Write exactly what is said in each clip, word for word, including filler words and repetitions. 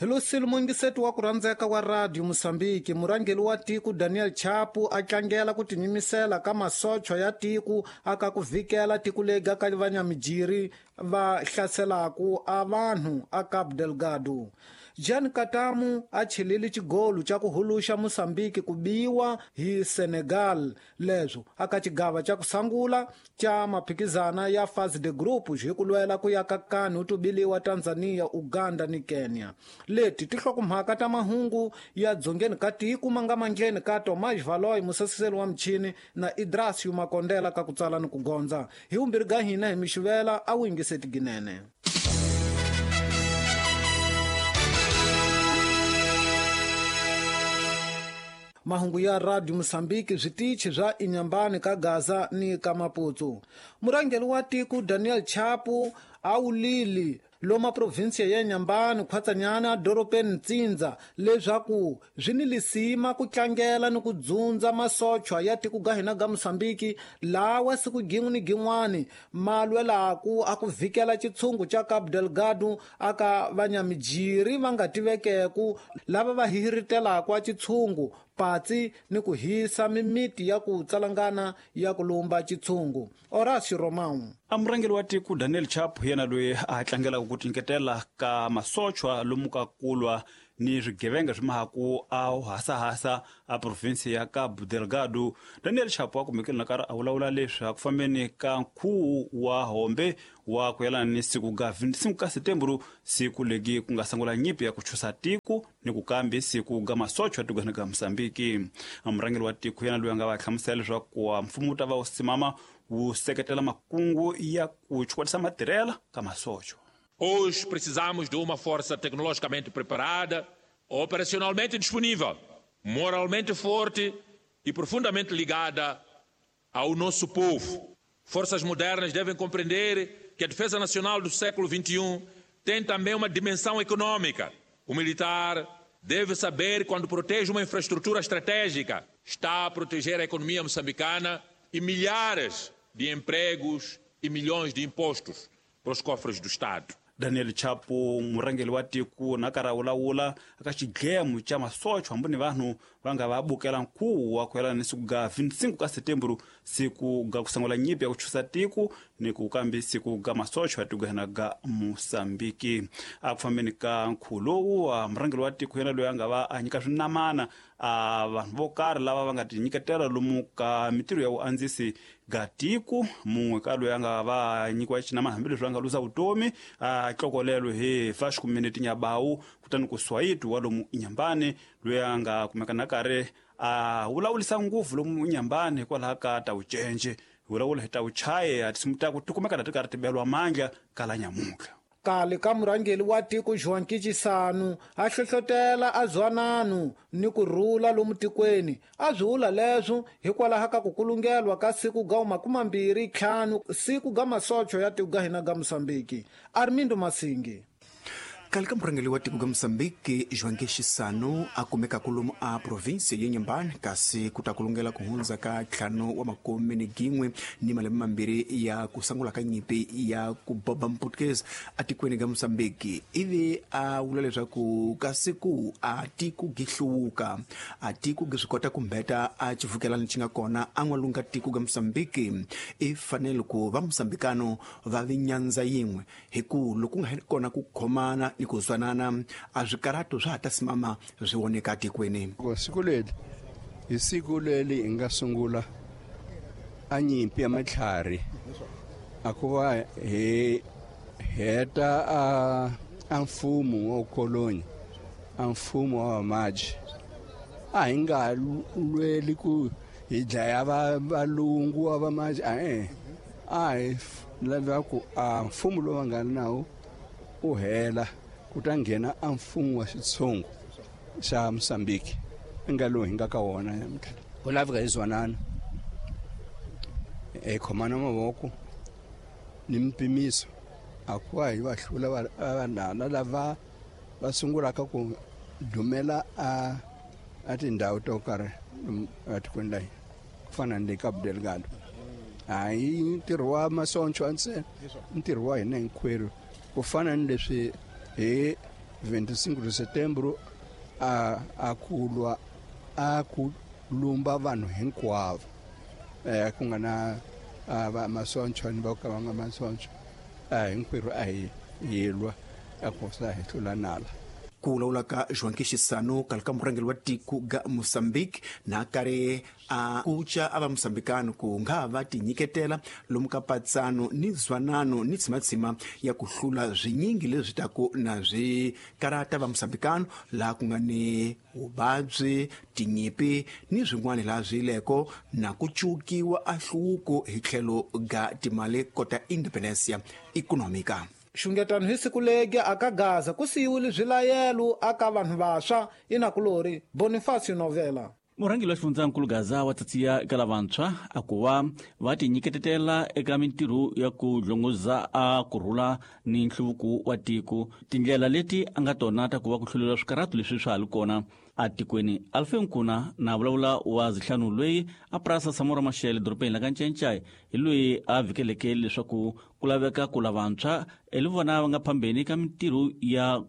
Hello mungiseti wa ku rhandzeka wa Radio Mosambiki, murhangeri wa tiko Daniel Chapo a tlangela ku tinyimisela ka masocha ya tiko aka ku vhikela tiko lega ka vanyamijiri va hlaselaku a vanhu a Cabo Delgado. Jean Katamu a chelele xigolo xa ku huluxa Mosambiki ku biwa hi Senegal leswo aka xigava xa ku sangula xa maphikizana ya phase de group hi ku lwela ku ya ka kani u tubiliwa Tanzania, Uganda ni Kenya. Leti tihlokomhaka ta mahungu ya dzongeni ka tiko ma nga mandleni ka Tomás Valoy musasiseli wa michini na Idrasio Makondela ka ku tsala ni ku gondza. Hi vumbirhi ga hina hi mixivela a wu yingiseti ginene. Mahungu ya Radio Mosambiki switichi swa Inhambane ka Gaza ni ka Maputo. Murhangeri wa tiko Daniel Chapo a wulile loma provinsia ya Inhambane khwatsanyana dorobeni Ntsindza leswaku swi ni lisima ku tlangela ni ku dzundza masochwa ya tiko ga hina ga Mosambiki lawa siku gin'we ni gin'wani ma lwelaku a ku vhikela xitshungu xa Cabo Delgado aka vanyamijiri va nga tivekeku lava va hihiritelaka a xitshungu patsi ni ku hisa mimiti ya ku tsalangana ya ku lumba xitshungu. Horacio Romão. A murhangeri wa tiko Daniel Chapo yena loyi a tlangelaka ku tinyiketela ka masochwa lomu ka kulwa ni swigevenga swi mahaku a hasahasa a provinsi ya Cabo Delgado. Daniel Chapo a kumekile na karhi a vulavula leswi a ku fambeni ka nkhuvo wa hombe wa ku yelana ni siku ga vinticinco ka setembro, siku legi ku nga sungula nyimpi ya ku chusa tiko ni ku kambi siku ga masochwa tikweni ga Mosambiki. A murhangeri wa tiko yena loyi a nga va hlamusela leswaku mfumo wu ta va wu simama wu seketela makungu ya ku chukwatisa matirhela ka masochwa. Hoje precisamos de uma força tecnologicamente preparada, operacionalmente disponível, moralmente forte e profundamente ligada ao nosso povo. Forças modernas devem compreender que a defesa nacional do século vinte e um tem também uma dimensão econômica. O militar deve saber, quando protege uma infraestrutura estratégica, está a proteger a economia moçambicana e milhares de empregos e milhões de impostos para os cofres do Estado. Daniel Chapo murhangeri wa tiko na karhi a vulavula aka xidlemo xa masochwa hambi ni vanhu va nga va bukela nkhuvo wa ku yelana ni siku ga vinticinco ka setembro, siku ga ku sungula nyimpi ya ku chusa tiko ni ku kambi siku ga masochwa tikweni ga Mosambiki. A ku fambeni ka nkhuvo lowu murhangeri wa tiko yena loyi a nga va a nyika swinamana a vanhu vo karhi lava va nga tinyiketela lomu ka mitirho ya vuandzisi ga tiko. Mun'we ka loyi a nga va nyikiwa xinamana hambileswi a nga luza vutomi a tlokolelo hi Vasco Menete Nyabawu, kutani ku Swayiti wa lomu Inhambane loyi a nga kumeka na karhi a vulavulisa ngopfu lomu Inhambane hikwalaho ka ta vucence vulavula hi ta vuchaye a tinsimu ta ku ti kumeka na ti karhi ti belwa mandla kala nyamuntlha. Kale ka murhangeri wa tiko João Chissano a hlohlotela a zwanano ni ku rhula lomu tikweni. A swi vula leswo hikwalaho ka ku kulungelwa ka siku ga makumambirhi ntlhanu siku ga masocho ya tiko ga hina ga Mosambiki. Armindo Masingi. Kale ka murhangeri wa tiko ga Mosambiki João Chissano a kumeka kolomu a provinsi ya Inhambane kasi ku ta kulungela ku hundza ka ntlhanu wa makume ni gin'we ni malembe mambirhi ya ku sungula ka nyimpi ya ku boba Mputukezi atikweni ga Mosambiki. Ivi a vula leswaku ka siku a tiko gi hluvuka, a tiko gi swi kota ku mbeta a xivukelani xi nga kona a n'walungu ka tiko ga Mosambiki. I fanele ku va Mosambikano va vi nyandza yin'we hi ku loko ku nga ri kona ku khomana ni ku zwanana a swikarhato swa ha ta simama swi voneka tikweni. Siku leri hi siku leri hi nga sungula a nyimpi ya matlhari a ku va hi heta a a mfumo wa koloni, a mfumo wa vamaji. A hi nga lweli ku hi dlaya va valungu wa vamaji, a a hi lava ku a mfumo lowu va nga nawo u hela ku ta nghena a mfumo wa xitshungu xa Mosambiki nga lowu hi nga ka wona namuntlha. Ku laveka hi zwanana, hi khomana mavoko ni mpimiso a ku va hi va hlula vanhana lava va sungulaka ku dumela a a tindhawu to karhi etikweni la hina ku fana ni le Cabo Delgado. Hayi ntirho wa masoncho ntsena, ntirho wa hina hinkwerhu ku fana ni leswi hi vinte e cinco de setembro a a ku lwa a ku lumba vanhu hinkwavo eh ku nga na va masoncho ni va ka va nga masoncho a hinkwerhu a hi hi lwa a ku sa hi hlula nala. Ku vulavula ka João Chissano kale ka murhangeri wa tiko ga Mozambique na karhi a kuca a va Mozambicano ku nga va tinyiketela lomu ka patsano ni zwanano ni tsimatsima ya ku hlula swinyingi leswi taku na swi karata va Mozambicano laha ku nga ni vuvabyi tinyipi ni swin'wana laha swi leko na ku cukiwa a hluvuko hi tlhelo ga timali kota independencia econômica. Xungetano hi siku legi aka Gaza ku siyiwile swilayelo aka vanhu vantshwa inakulori Bonifacio Novela. Murhangeri wa xifundzankulu Gaza wa tsatsiya eka lavantshwa a ku va va tinyiketetela eka mintirho ya ku dlongoza a kurhula ni nhluvuko wa tiko tindlela leti a nga tona ta ku va ku hluleriwa swikarhato leswi swa ha li kona atikweni. Alfe Nkuna na vulavula wa zihlanu loyi a purasa Samora Machel dorobeni la ka Ncencai hi loyi a vhikeleke leswaku ku laveka ku lavantshwa hi vona va nga phambeni ka mintirho ya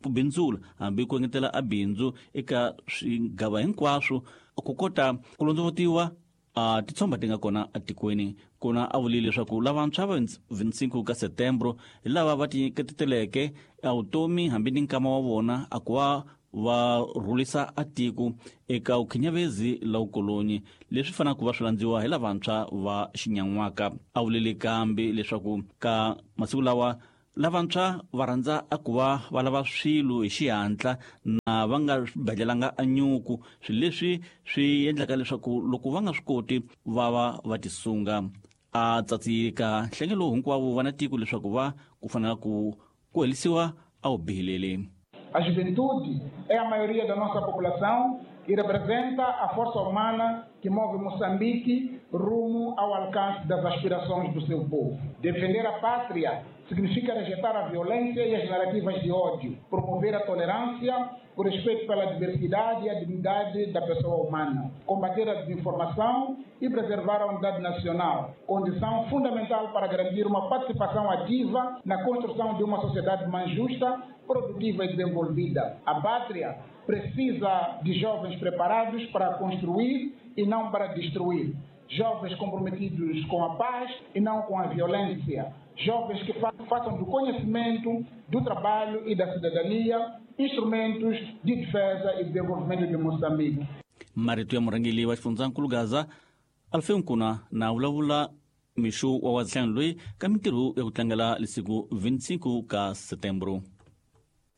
ku bindzula hambi ku engetela a bindzu eka swigava hinkwaswo ku kota ku londzovotiwa a titshomba ti nga kona atikweni. Kona a vulile leswaku lavantshwa va vinte e cinco ka setembro hi lava va tinyiketeleke a vutomi hambi ni nkama wa vona a ku va va rhulisa a tiko eka vukhinyavezi la vukolonyi leswi fanaka ku va swi landziwa hi lavantshwa va xinyan'waka. A vulile kambe leswaku ka masiku lawa lavantshwa va rhandza a ku va va lava swilo hi xihatla na va nga badlelanga a nyuku swilo leswi swi endlaka leswaku loko va nga swi koti va va va tisunga. A tsatsika nhlengelo hinkwavo va na tiko leswaku va ku fanela ku ku helisiwa a wu bihilele. A juventude é a maioria da nossa população e representa a força humana que move Moçambique rumo ao alcance das aspirações do seu povo. Defender a pátria significa rejeitar a violência e as narrativas de ódio, promover a tolerância, o respeito pela diversidade e a dignidade da pessoa humana, combater a desinformação e preservar a unidade nacional, condição fundamental para garantir uma participação ativa na construção de uma sociedade mais justa, produtiva e desenvolvida. A pátria precisa de jovens preparados para construir e não para destruir. Jovens comprometidos com a paz e não com a violência. Jovens que façam do conhecimento, do trabalho e da cidadania instrumentos de defesa e desenvolvimento de Moçambique. Marito ya murhangeri wa xifundzankulu Gaza Alfe Nkuna na vulavula mixo wa wazihlanu loyi ka mintirho ya ku tlangela lesiku vinte e cinco ka setembro.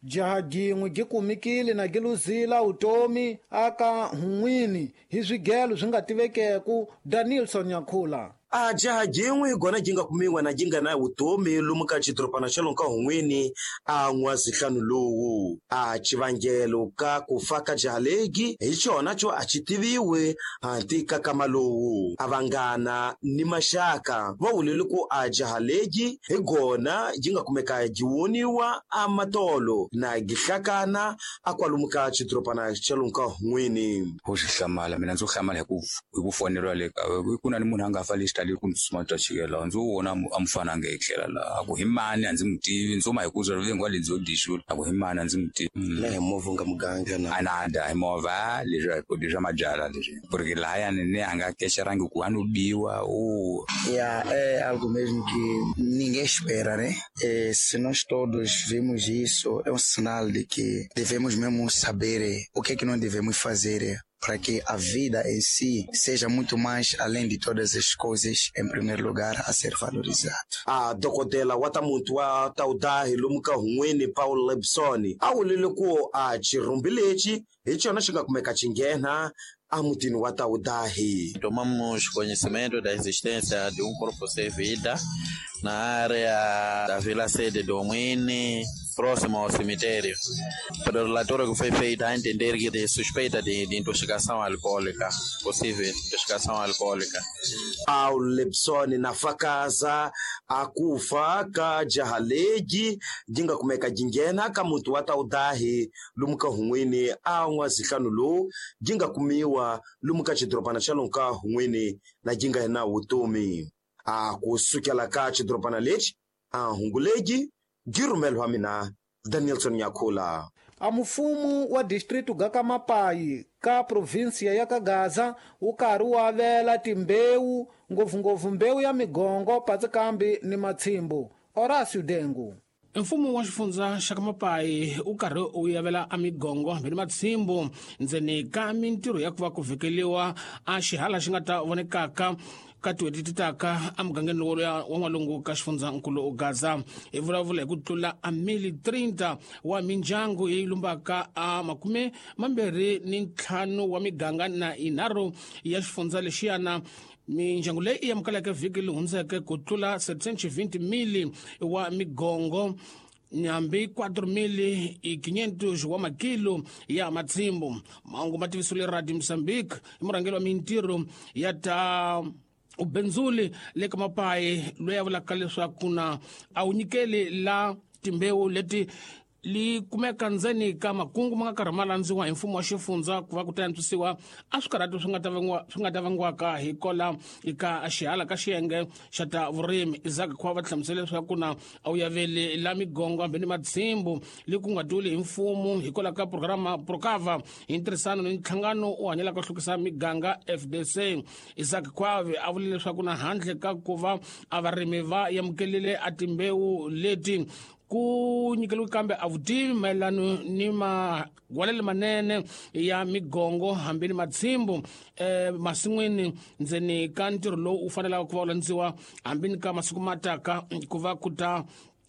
Jaha jin'we gi kumikile na giluzila utomi aka hun'wini hi swigelo swi nga tivekeku Danielson Nyakhula. A jaha jin'we gona ji nga kumiwa na ji nga na vutomi lomu ka xidorobana xa lomu ka hun'wini a n'wazihlanu lowu. A xivangelo ka ku fa ka jaha legi hi xona xo a xi tiviwe hanti ka kama lowu. A vanghana ni maxaka va vulile ku a jaha legi hi gona ji nga kumeka ji woniwa a matolo na gihlakana a kwalomu ka xidorobana xa lomu ka hun'wini. Ho xi hlamala mina ndzo hlamala hi ku hi ku foneriwa le ka ku na ni munhu a nga fa lexi ku ndzi twa chikela ndzo vona a mufana nga etlela laha a ku hi mani a ndzi mu tivi ndzo ma hi ku zwa vengwa le ndzo dixula a ku hi mani a ndzi mu tivi na hi movha nga muganga na a na da hi movha leswi leswi swa mabyala leswi porque lahayani ni a nga kexerangi ku a no biwa o Yeah, é algo mesmo que ninguém espera, né? E se nós todos vemos isso, é um sinal de que devemos mesmo saber o que é que nós devemos fazer para que a vida em si seja muito mais além de todas as coisas, em primeiro lugar, a ser valorizado. A dokodela wa ta muntu wa taudahi lomu ka hun'wini Paul Lebson a vulile ku a xirhumbi lexi hi xona xi nga kumeka xi nghena a mutini wa Taudahi. Tomamos conhecimento da existência de um corpo sem vida na área da Vila Sede do Mwini, próximo ao cemitério. Pelo relatório que foi feito, a entender que de suspeita de, de intoxicação alcoólica, possível intoxicação alcoólica. Ao Lebson na fakaza akufa ka jaha legi jinga kumeka jingena ka muntu wa Taudahi lomu ka hun'wini a n'wazihlanu lowu jinga kumiwa lomu ka xidorobana xa lomu ka hun'wini na jinga na vutomi. A ku sukela ka xidorobana lexi a hungu legi gi rhumeliwa mina Danielson Nyakula. A mufumu wa distritu ga ka Mapai ka provinsia ya Kagaza wu karhi wu avela timbewu ngopfungopfu mbewu ya migongo patsikambi ni matshimbu. Horacio Dengu. Mfumo wa xifundza xa ka Mapai wu karhi wu yavela a migongo hambi ni matshimbu ndzeni ka mintirho ya ku va ku vhekeliwa a xihala xi nga ta vonekaka ka tin'hweti ti taka emugangeni lowu wa n'walungu ka xifundzankulu Gaza. Hi vulavula hi ku tlula a mili thirty wa mindyangu yi lumbaka a makume mambirhi ni ntlhanu wa miganga na yinharhu ya xifundza lexiyana. Mindyangu leyi yi amukeleke vhiki leyi hundzeke ku tlula seven hundred mili wa migongo nyambi cuatro mil y quinientos wa makilo ya matshimbu. Mahungu ma tivisiwile Radio Mozambique hi murhangeri wa mintirho ya ta ubenzuli le ka Mapai loyi a vulaka leswaku na a wu nyikeli la timbewu leti li kumeka ndzeni ka makungu ma nga karhi ma landziwa hi mfumo wa xifundza ku va ku ta antswisiwa a swikarhati swi nga ta vangiwa swi nga ta vangiwaka hi kola eka xihala ka xiyenge xa ta vurimi. Isaac Khwa va hlamusela leswaku na a wu yaveli la migongo hambi ni matshimbu le ku nga duli hi mfumo hikwalaho ka programa Procava hi ntirhisano ni nhlangano u hanyelaka ku hlukisa miganga F D C. Isaac Khwa a vule leswaku na handle ka ku va a varimi va amukelile a timbewu leti ku nyikeliwe kambe a vutivi mayelano ni magwalelo manene ya migongo hambi ni matshimbu eh, masin'wini ndzeni ka ntirho lowu wu fanelaka ku va wu landziwa hambi ni ka masiku ma taka ku va ku ta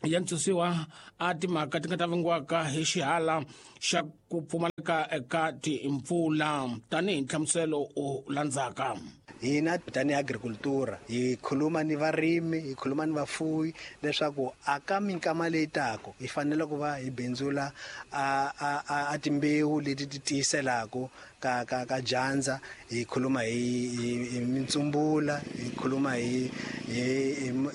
yantswisiwa a timhaka ti nga ta vangiwaka hi xihala xa ku pfumaleka eka timpfula tanihi nhlamuselo u landzaka. Hina tanihi agricultura hi khuluma ni varimi, hi khuluma ni vafuwi leswaku aka minkama leyi taka hi fanele ku va hi bindzula a a a timbewu leti ti tiyiselaka ka ka ka dyandza. Hi khuluma hi hi mintsumbula, hi khuluma hi hi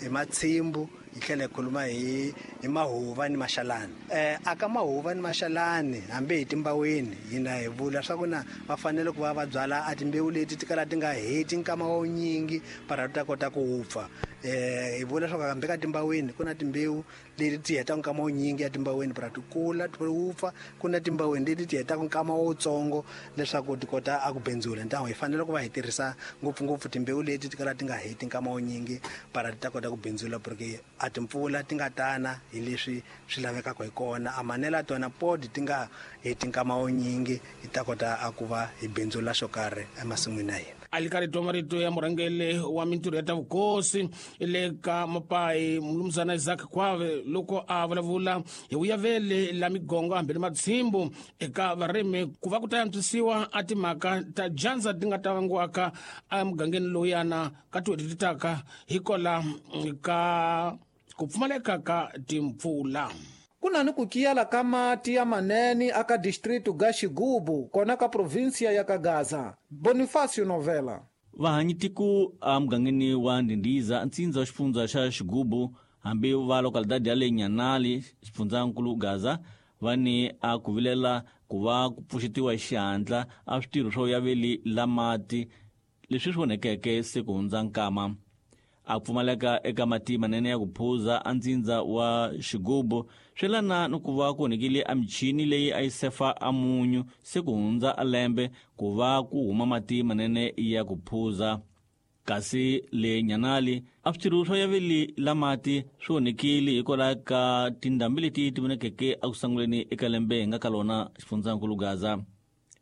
hi matshimbu, hi tlhela hi khuluma hi hi mahuva ni maxalani. Eh aka mahuva ni maxalani hambi hi timbaweni hina hi vula swa ku na va fanele ku va va byala a timbewu leti ti kala ti nga heti nkama wa nyingi para ta kota ku wupfa. Eh hi vula swa ku hambi ka timbaweni ku na timbewu leti ti hetaka nkama wa nyingi ya timbaweni para ti kula ti wupfa, ku na timbaweni leti ti hetaka nkama wutsongo leswaku ti kota a ku bindzula. Ntango hi fanele ku va hi tirhisa ngopfungopfu timbewu leti ti kala ti nga heti nkama wa nyingi para ti ta kota ku bindzula, porque a timpfula ti nga tana hi leswi swi lavekaka hi kona, a manela tona pod ti nga heti nkama wa nyingi hi ta kota a ku va hi bindzula xo karhi emasin'wini ya hina. A li karhi twa marito ya murhangeri wa mintirho ya ta vukosi le ka Mapai Mnumzana Isaac Khwave loko a vulavula hi vuyavele la migongo hambi ni matshimbu eka varimi ku va ku ta antswisiwa a timhaka ta dyandza ti nga ta vangiwaka emugangeni lowuyana ka tin'hweti ti taka hikola ka ku pfumaleka ka timpfula. Ku na ni ku kiyala ka mati ya manene aka distritu ga Xigubu kona ka provinsia ya Kagaza. Bonifacio Novela. Vahanyitiku emugangeni wa Ndindiza ntsindza wa xifundza xa Xigubu hambi va localidade ya le Nyanali xifundzankulu Gaza va ni a ku vilela ku va ku pfuxetiwa hi xihatla a switirho swo yaveli la mati leswi swi onhekeke se ku hundza nkama. A pfumaleka eka mati manene ya ku phuza a ntsindza wa Xigubu swi lana ni ku va ku onhekile a michini leyi a yi sefa a munyu se ku hundza a lembe ku va ku huma mati manene ya ku phuza. Kasi le Nyanali a switirho swo yaveli la mati swi onhekile hikwalaho ka tindhambi leti ti vonekeke eku sunguleni eka lembe hi nga ka lona xifundzankulu Gaza.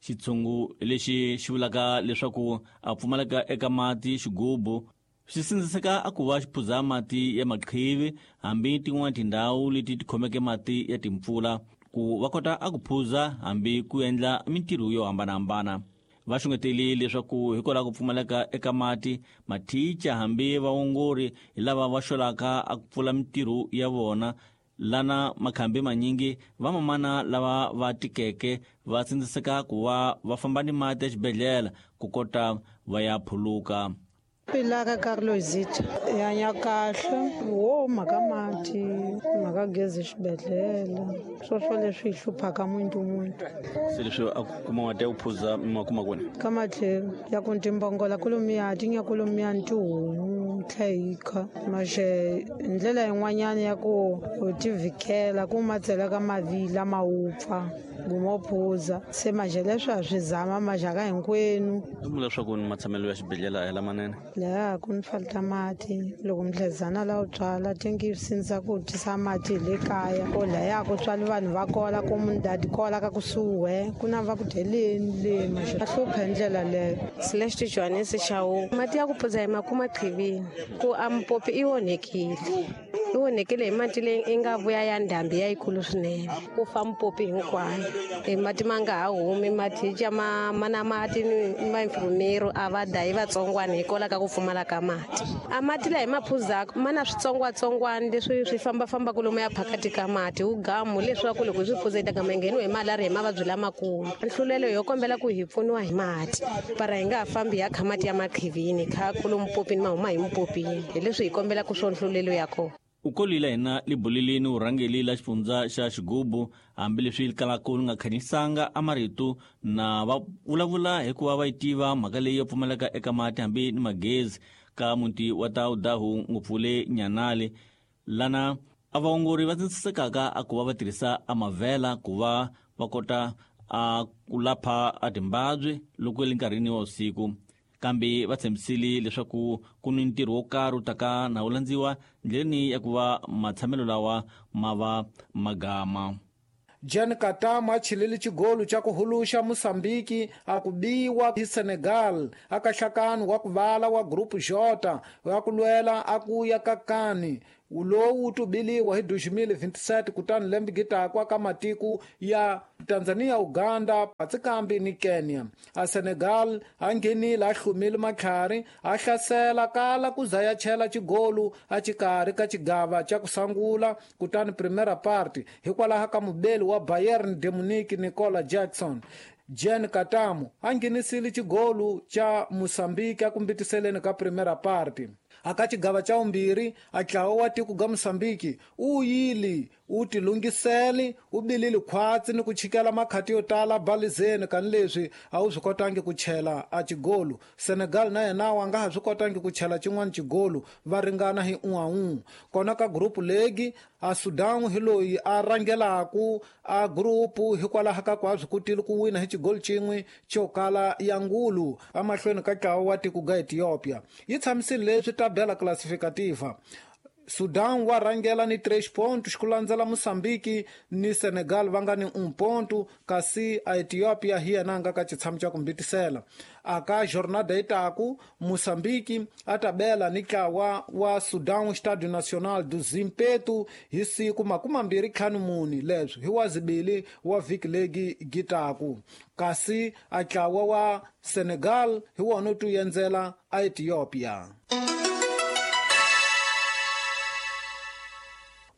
Xitshungu lexi xi vulaka leswaku a pfumaleka eka mati Xigubu swi sindziseka a ku va xi phuza mati ya maqhivi hambi tin'wana tindhawu leti ti khomeke mati ya timpfula ku va kota a ku phuza hambi ku endla mintirho yo hambanahambana. Va xungeteli leswaku hikwalaho ku pfumaleka eka mati mathicha hambi vaongori hi lava va xolaka a ku pfula mintirho ya vona lana makhambi manyingi vamamana lava va tikeke va sindziseka ku va va famba ni mati exibedhlele ku kota va ya phuluka. Pilaka Carlosita ya kahle wo mhaka mati mhaka gezi xibedhlele swoswo leswi hi hluphaka muntu muntu se leswi a kuma mati ya ku phuza ma kuma kwini ka matlhelo ya ku timbongola kolomiya ti nya kolomiya ni tihomu tlhe hi kha maxe ndlela yin'wanyana ya ku u tivikela ku ma tsela ka mavila ma wupfa gumo phuza se maxe leswi a swi zama maxaka hinkwenu u leswaku ni matshamelo ya xibedhlele a hi lamanene laha ku ni falta mati loko mdlezana la u tswala tingi sindza ku tisa mati hi le kaya ko laya ku tswali vanhu va kola ku mundadi kola ka kusuhi ku na va ku dyeleni le maxe a hlupha hi ndlela leyo Celeste Johannes Shawu mati ya ku phuza hi makuma qhivini ku a mpopi i onhekile i onhekile hi mati leyi i nga vuya ya ndhambi ya yikulu swinene ku fa mpopi hinkwayo e mati ma nga ha humi mati ca ma mana mati ni vainfirmero a va dayi vatsongwana hikwalaho ka ku pfumala ka mati a mati laha hi ma phuzaka ma na switsongwatsongwana leswi swi fambafambaka lomu ya phakati ka mati wu gamu leswaku loko hi swi phuza hi ta gama hi ngheniwe hi malariya hi mavabyi lamakulu nhlulelo yo kombela ku hi pfuniwa hi mati para hi nga ha fambi hi ya kha mati ya maqhivini kha kulo mpopini ma huma hi mpopini hi leswi hi kombelaka swo nhlulelo ya kona u kolile hina libulilini urhangeli la xifundza xa xigubu hambileswi kalaka li nga khanyisanga a marito na va vulavula hikuva va yi tiva mhaka leyi yo pfumaleka eka mati hambi ni magezi ka muti wa Taudahu ngopfu le Nyanale lana a vaongori va tsindzisekaka a ku va va tirhisa a mavhela ku va va kota a ku lapha a timbabyi loko le nkarhini wa vusiku kambe va tshembisile leswaku ku ni ntirho wo karhi wu taka na wu landziwa ndleleni ya ku va matshamelo lawa ma va magama. Jan Katama chilili chigolu cha kuhuluxa Mosambiki akubiwa hi Senegal akahlakani wa kuvala wa Group J wa kulwela akuya kakani ulowu tubiliwa hi dois mil e vinte e sete kutani lembe gitakwa ka matiko ya Tanzania, Uganda, Patsikambi ni Kenya. A Senegal a nghenile a hlumile matlhari a hlasela kala ku za ya chela xigolu a xikarhi ka xigava xa ku sungula kutani primera parte hikwalaho ka mubeli wa Bayern de Munich Nicola Jackson. Jan Katamu a nghenisile xigolu xa Mosambiki a kumbitiseleni ka primera parte. Aka xigava xa vumbirhi a ntlawa wa tiko ga Mosambiki u yili u tilungiseli u bilile khwatsi ni ku chikela makhati yo tala balizeni kani leswi a wu swi kotangi ku chela a xigolu. Senegal na yena wa nga ha swi kotangi ku chela xin'wana xigolu va ringana hi un'we un'we. Kona ka group legi a Sudan hi loyi a rhangelaku a group hikwalaho ka ku a swi kotile ku wina hi xigolu xin'we xo kala ya ngulu emahlweni ka ntlawa wa tiko ga Ethiopia. Yi tshamisile leswi tabela classificativa. Sudan wa rhangela ni três pontos ku landzela Mosambiki ni Senegal va nga ni um ponto kasi a Ethiopia hi yena nga ka xitshamo xa ku mbitisela. Aka jornada itaku Mosambiki a tabela ni ntlawa wa Sudan Estádio Nacional do Zimpeto hi siku makumi mambirhi ntlhanu mune leswi hi wa zibili wa vhiki legi gitaku kasi a ntlawa wa Senegal hi wona wu tiendzela a Ethiopia.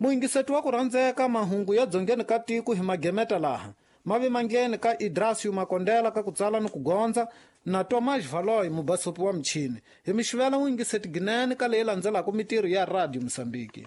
Muyingiseti wa ku rhandzeka mahungu ya dzongeni ka tiko hi magemeta laha mavi mangheni ka Idrasio Makondela ka ku tsala ni ku gondza na Tomas Valoy mubasopi wa michini hi mixivela muyingiseti ginene ka leyi landzelaka mitirho ya Radio Mosambiki.